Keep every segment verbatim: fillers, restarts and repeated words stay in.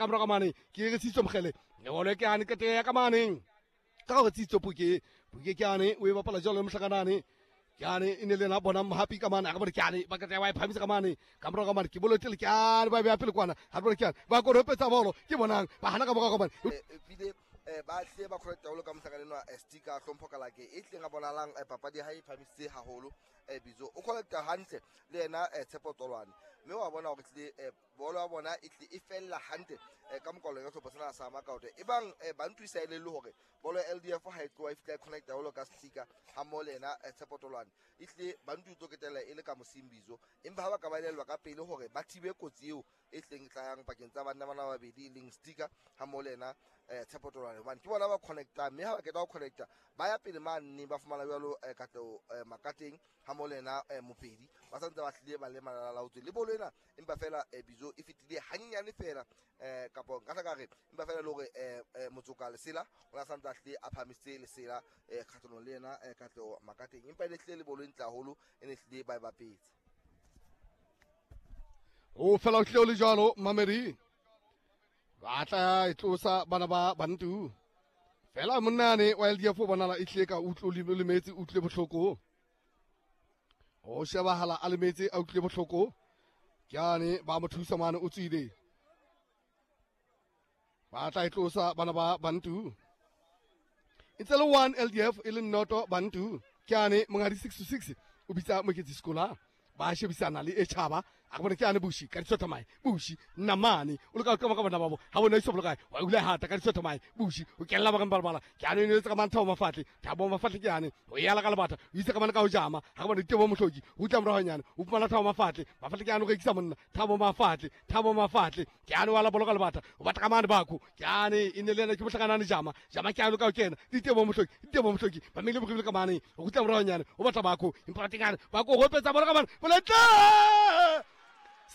Ka morago mane ke re Tsitso Mokgele bolo ke ane kete ya ka mane ka gore Tsitso Puke Puke ke ane o e bapala jalo mohlakanane ke ane e ne le na bona Mohapi ka mane a ka bone ke ane ba kete wa e phamisa ka mane ka morago mane ke bolo tle ke ane ba beya pele kwana ha bone ke ane ba koropetsa bolo ke bonang ba hana ka morago mane ebile ba tle ba khona taolo ka mohlakane nwa sticker hlompho ka lake e tleng a bonalang papadi ha e phamisitse haholo bitso o connecta hantle le yena Tshepo Tolwane mme wa bona hore tle bolo ya bona e tle e fella hantle ka mokwalo ya sehlopha sena sa Makaote e bang Bantu e sa elellwe hore bolo ya L D F ha e tloha e fihla e connecta haholo ka sticker ha mmoho le yena Tshepo Tolwane e tle Bantu e tlo ketella e le ka mosimbizo empa ha ba ka ba elellwa ka pele hore ba thibe kotsi eo e tleng tlayang pakeng tsa banna bana ba babedi e leng sticker ha mmoho le yena Tshepo Tolwane hobane ke bona ba connecta mme ha ba qeta ho connecta ba ya pele mane ba fumana jwalo Katleho Makateng ha mmoho le yena Mopedi ba santse ba hlile ba le malalaotswe le bolo ena empa fela bizo e fetile hannyane fela kapo nka tla ka re empa fela le hore Motsoka Lesela o na santse a hlile a phamisitse Lesela kgahlano le yena Katleho Makateng empa e ne hlile le bolo e ntle haholo e ne hlile ba e bapetse. O fela o tlile o le jwalo mamedi ba tla e tlosa bana ba Bantu fela monnane wa L D F o bonala e tlile ka utlwe o lemetse o utlwile bohloko o shebahala a lemetse a utlwile bohloko ke ane ba mo thusa mane o tswile ba tla e tlosa bana ba Bantu e ntse le one L D F e le noto Bantu ke ane mongadi six to six o bitsa Moketsi Sekola ba shebisana le Echaba a bone ke ane Bushi ka ditso thamae Bushi namane o le ka ka ka bona babo ha bona iso bolokae wa ule hata ka ditso thamae Bushi o kella ba ka balabala ke ane ne tsa ka mantha mafatle Thabo Mafatle ke ane o yala ka lebata o itse ka mana ka o jama ha bona Tebo Mohloki o tla morahonyana o fumana Thabo Mafatle Mafatle ke ane o rekisa monna Thabo Mafatle Thabo Mafatle ke ane wa la boloka lebata o batla ka mane bako ke ane e ne le ena ke mohlakanane jama jama ke ane ka o kena Tebo Mohloki Tebo Mohloki ba mele bogile ka mane o tla morahonyana o batla bako empa tingane bako go petsa boloka mane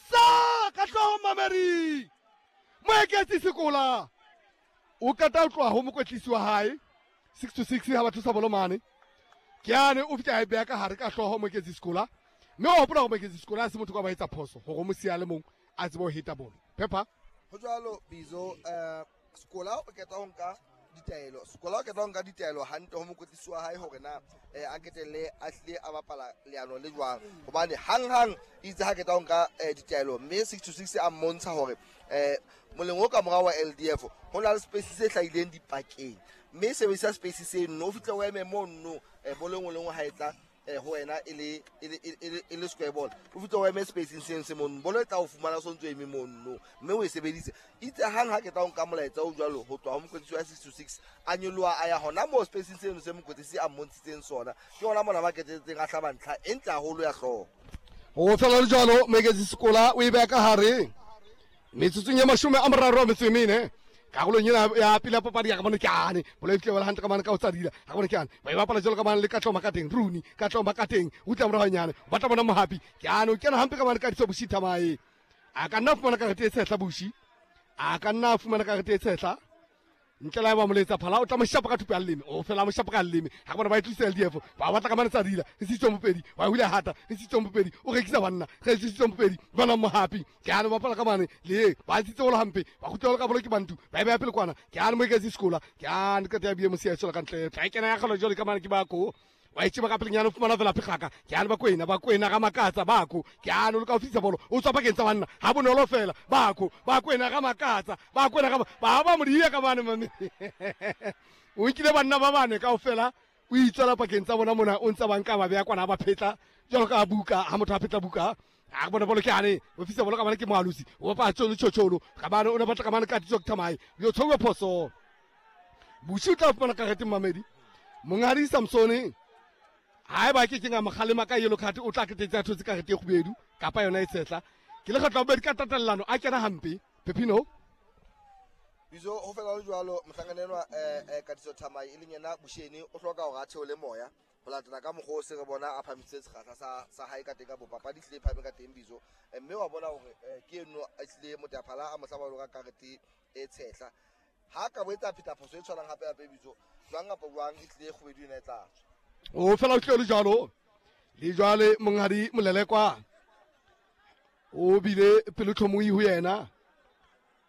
sa ka hlooho mamedi Moeketsi Sekola o kata o tloha ho mokwetlisi wa hae six to six ha ba thusa bolo mane ke ane o fihla e beha ka hare ka hlooho Moeketsi Sekola mme o hopola hore Moeketsi Sekola ha se motho ka ba etsa phoso hore mo siya le mong a tsebe ho heta bolo Pepper ho jwalo bizo Sekola o keta ho nka ditaelo Sekola o keta ho nka ditaelo hantle ho mokwetlisi wa hae hore na a ketelle a hlile a bapala leano le jwang hobane hanghang itse ha keta ho nka ditaelo mme six to six a mmontsha hore moleng o ka morao wa L D F ho na le space se hlahileng dipakeng mme sebedisa space seno o fihle o eme mono bolo e nngwe le nngwe ha e tla ho wena e le e le square ball o fihle o eme spacing seng se mono bolo e tla o fumana so ntso eme mono mme o e sebedise itse hang ha ke tla o nka molaetsa o jwalo ho tloha ho mokwetlisi wa six to six a nyoloha a ya hona moo spacing seno se mokwetlisi a mmontshitseng sona ke hona mona ba ketetseng a hlaba ntlha e ntle haholo ya hlooho ho fela le jwalo Moeketsi Sekola o e beha ka hare metsotsong ya mashome a mararo a metso e mene karolong ena ya pele ya papadi ya ka bone ke ane bolo e tlile hantle ka mane ka o tsadila ha bone ke ane ba e bapala jwalo ka mane le Katleho Makateng Rooney Katleho Makateng o tla morahonyana o batla bona Mohapi ke ane o kena hampe ka mane ka ditso Bushi Thamae a ka nna fumana karete e tshehla Bushi a ka nna fumana karete e tshehla ntle la ba moletsa phala o tla mo shapa ka thupa ya leleme o fela mo shapa ka leleme ha bona ba e tlisa L D F ba batla ka mane tsadila re sitso Mopedi wa hula hata re sitso Mopedi o rekisa banna re sitso Mopedi bona Mohapi ke ane ba bapala ka mane le ba tsitse holo hampe ba kgutlela ka bolo ke Bantu ba e beha pele kwana ke ane Moeketsi Sekola ke ane ka ya bie mosia tshola ka ntle tla kena ya kgalo jwale ka mane ke bako wa itse ba ka pelenyana o fumana fela phekgaka ke ane ba kwena ba kwena ga makatsa bako ke ane o le ka ofisa bolo o tswa pakeng tsa banna ha bonolo fela bako ba kwena ga makatsa ba kwena ga ba ba modiya ka bane mame o nkile banna ba bane kaofela o itswela pakeng tsa bona mona o ntsa banka ba beya kwana ba phetla jwalo ka buka ha motho a phetla buka a bona bolo ke ane ofisa bolo ka bane ke moalosi o bapa tsolo tshotsholo ka bane o ne batla ka bane ka ditso thamae yo tshowe phoso Bushi o tla fumana karete mamedi Mongadi Samsone ha eba ke kenga mokgalema ka yellow card o tla ketetsa thotse karete e kgubedu kapa yona e tshehla ke le kgetlo bobedi ka tatellano a kena hampe Pepino bizo ho fela le jwalo mohlankana enwa Katiso Thamae e leng yena Busheni o hloka hore a theole moya ho latela ka mokgwa o se re bona a phamisitse sekgahla sa sa hae ka teng ka bopapadi hlile phame ka teng bizo mme wa bona hore ke eno a hlile motaphala a mohlaba lo ka karete e tshehla ha ka bo etsa pheta phoso e tshwanang hape hape bizo jwang kapa jwang e hlile kgubedu ena e tla tswa o fela o tlile le jwalo le jwale monghadi Molelekwa o bile pelotlhomohi ho yena